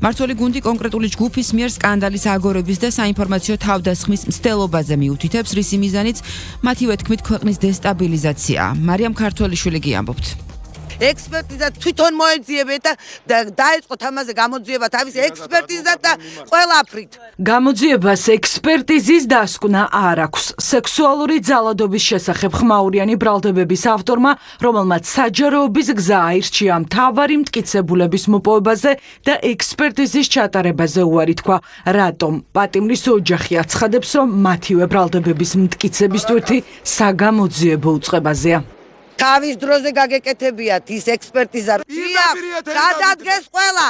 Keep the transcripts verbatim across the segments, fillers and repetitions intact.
მმართველი გუნდი კონკრეტული ჯგუფის მიერ სკანდალის აგორების და საინფორმაციო თავდასხმის მცდელობაზე მიუთითებს, რისი მიზანიც მათივე თქმით ქვეყნის დესტაბილიზაციაა. მარიამ ქართველიშვილი გიამბობთ. ექსპერტიზა თვითონ მოეძიებეთ და დაეწყოთ ამაზე გამოძიება თავის ექსპერტიზად და ყველაფრით. გამოძიებას ექსპერტიზის დასკვნა არ აქვს. სექსუალური ძალადობის შესახებ ხმაურიანი ბრალდებების ავტორმა, რომელმაც საჯაროობის გზა აირჩია მთავარი მტკიცებულების მოპოვებაზე და ექსპერტიზის ჩატარებაზე უარი თქვა. რატომ? პატიმრის ოჯახი აცხადებს, რომ მათივე ბრალდებების მტკიცების ტვირთი საგამოძიებო უწყებაზეა. თავის დროზე გაგეკეთებიათ ის ექსპერტიზა. გადადგეს ყველა.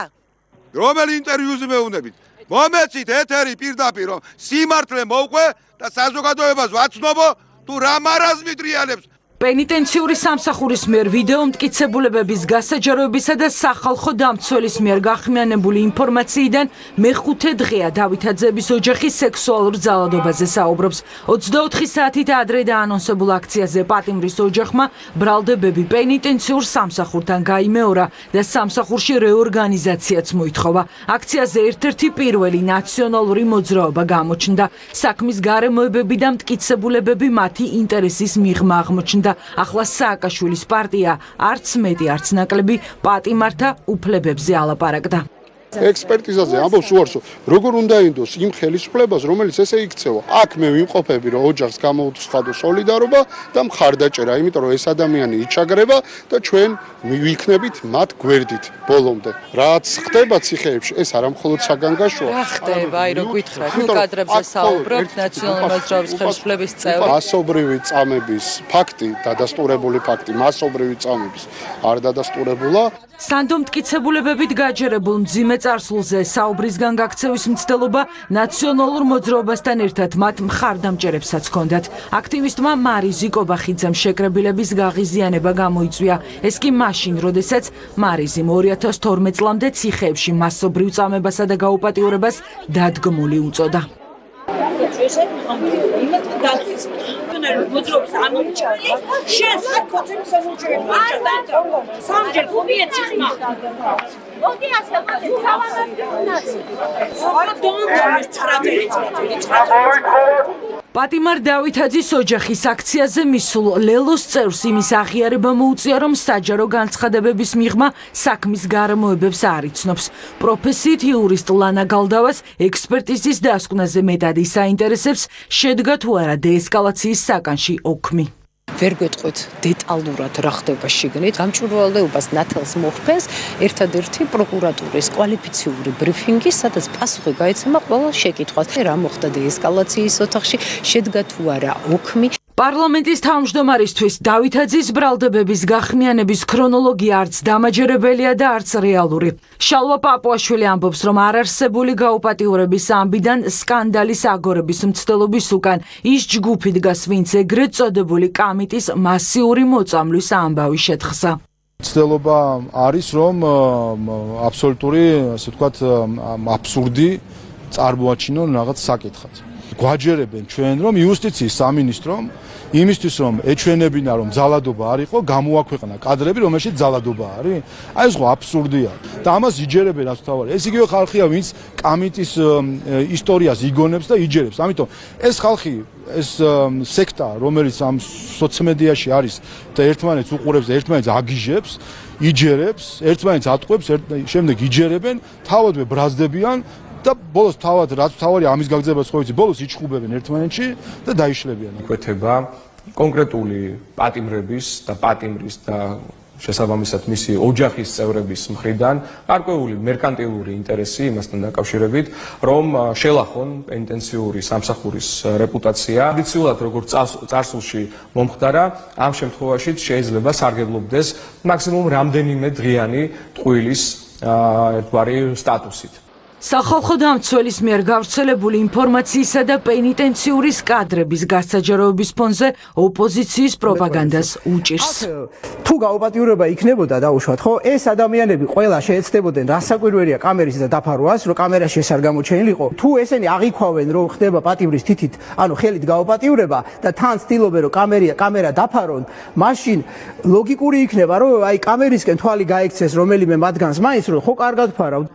რომელი ინტერვიუზე მეუნებით? მომეცით ეთერი პირდაპირ რომ სიმართლე მოვყვე და საზოგადოებას ვაცნობო თუ რა მარაზმი დრიალებს. პენიტენციური სამსახურის მიერ ვიდეო მტკიცებულებების გასაჯაროებისა და სახალხო დამცველის მიერ გახმიანებული ინფორმაციიდან მეხუთე დღეა დავითაძეების ოჯახი სექსუალურ ძალადობაზე საუბრობს. ოცდაოთხი საათით ადრე დაანონსებულ აქციაზე პატიმრის ოჯახმა ბრალდებები პენიტენციურ სამსახურთან გაიმეორა და სამსახურში რეორგანიზაციაც მოითხოვა. აქციაზე ერთ-ერთი პირველი ნაციონალური მოძრაობა გამოჩნდა. საქმის გარემოებები და მტკიცებულებები მათი ინტერესის მიღმა აღმოჩნდა. ახლა სააკაშვილის პარტია არც მეტი არც ნაკლები პატიმართა უფლებებზე ალაპარაკდა. ექსპერტიზაზე ამბობს უარსო, როგორ უნდა ინდოს იმ ხელისუფლებას, რომელიც ესე იქცევა. აქ მე ვიმყოფები, რომ ოჯახს გამოუცხადო სოლიდარობა და მხარდაჭერა, იმიტომ რომ ეს ადამიანი იჩაგრება და ჩვენ მივიქნებით მათ გვერდით ბოლომდე. რაც ხდება ციხეებში, ეს არა მხოლოდ საგანგაშოა. რა ხდება, აი რო გითხრათ, ნუ კადრებზე საუბრობთ ნაციონალური მოძრაობის ხელისუფლების წევრი. მასობრივი წამების ფაქტი, დადასტურებული ფაქტი, მასობრივი წამების არ დადასტურებულა. სანდო მტკიცებულებებით გაჯერებულ მძიმე წარსულზე საუბრისგან გაქცევის მცდელობა ნაციონალურ მოძრაობასთან ერთად მათ მხარდამჭერებსაც ჰქონდათ. აქტივისტმა მარი ზიკობახიძემ შეკრებილების გაღიზიანება გამოიწვია. ეს კი მაშინ, როდესაც მარიზიმ ორი ათას თორმეტ წლამდე ციხეებში მასობრივ წამებასა და გაუპატიურებას დადგმული უწოდა. მოძრაობის ამომრჩეველი შენ საკოცების ამომრჩეველი სამჯერ ხუბია ციხმა მოდი ასე მოდი პატიმარ დავითაძის ოჯახის აქციაზე მისულ ლელოს წევრს იმის აღიარება მოუწია, რომ საჯარო განცხადებების მიღმა საქმის გარემოებებს არ იცნობს. პროფესიით იურისტ ლანა გალდავას ექსპერტიზის დასკვნაზე მეტად ისაინტერესებს, შედგა თუ არა დეესკალაციის საკანში ოქმი. ვერ გვეტყვით დეტალურად რა ხდება შიგნით. გამჭვირვალეობას ნათელს მოხდენს ერთადერთი პროკურატურის კვალიფიციური ბრიფინგი, სადაც პასუხი გაიცემა ყველა შეკითხვას. რა მოხდა დეესკალაციის ოთახში, შედგა თუ არა ოქმი. პარლამენტის თავმჯდომარისთვის დავითაძის ბრალდებების გახმიანების ქრონოლოგია არც დამაჯერებელია და არც რეალური. შალვა პაპუაშვილი ამბობს, რომ არარსებული გაუპატიურების ამბიდან სკანდალის აგორების მცდელობის უკან ის ჯგუფი დგას, ვინც ეგრეთ წოდებული კამიტის მასიური მოწამვლის ამბავი შეთხსა. მცდელობა არის, რომ აბსოლუტური, ასე ვთქვათ, აბსურდი წარმოაჩინონ რაღაც საკითხად. გვაჯერებენ ჩვენ, რომ იუსტიციის სამინისტრომ იმისთვის რომ ეჩვენებინა რომ ძალადობა არ იყო, გამოაქვეყნა კადრები, რომელშიც ძალადობა არის. აი ეს ხო აბსურდია. და ამას იჯერებენ რაც თავარი. ეს იგივე ხალხია, ვინც კამიტის ისტორიას იგონებს და იჯერებს. ამიტომ ეს ხალხი, ეს სექტა, რომელიც ამ სოციმედიაში არის და ერთმანეთს უყურებს და ერთმანეთს აგიჟებს, იჯერებს, ერთმანეთს ატყვევს, შემდეგ იჯერებენ, თავადვე ბრაზდებიან. და ბოლოს თავად რაც თავარი ამის გაგზავნებას ხო იცი, ბოლოს იჩხუბებენ ერთმანეთში და დაიშლებიან. იკვეთება კონკრეტული პატიმრების და პატიმრის და შესაბამისად მისი ოჯახის წევრების მხრიდან გარკვეული მერკანტილური ინტერესი იმასთან დაკავშირებით, რომ შელახონ პენიტენციური სამსახურის რეპუტაცია. ტრადიციულად როგორც წარსულში მომხდარა, ამ შემთხვევაშიც შეიძლება სარგებლობდეს მაქსიმუმ რამდენიმე დღიანი ტყუილის ერთგვარი სტატუსით. სახალხო დამცველის მიერ გავრცელებული ინფორმაციისა და პენიტენციური კადრების გასაჯაროების ფონზე ოპოზიციის პროპაგანდას უჭირს. თუ გაუპატიურება იქნებოდა დაუშვათ, ხო, ეს ადამიანები ყველა შეეცდებოდნენ, რასაკვირველია კამერის და დაფარვას, რომ კამერაში ეს არ გამოჩენილიყო. თუ ესენი აღიქვავენ, რომ ხდება პატიმრის თითით, ანუ ხელით გაუპატიურება და თან ცდილობენ, რომ კამერა კამერა დაფარონ, მაშინ ლოგიკური იქნება, რომ აი კამერისკენ თვალი გაიქცეს რომელიმე მათგანს, მაინც რომ ხო კარგად ფარავ.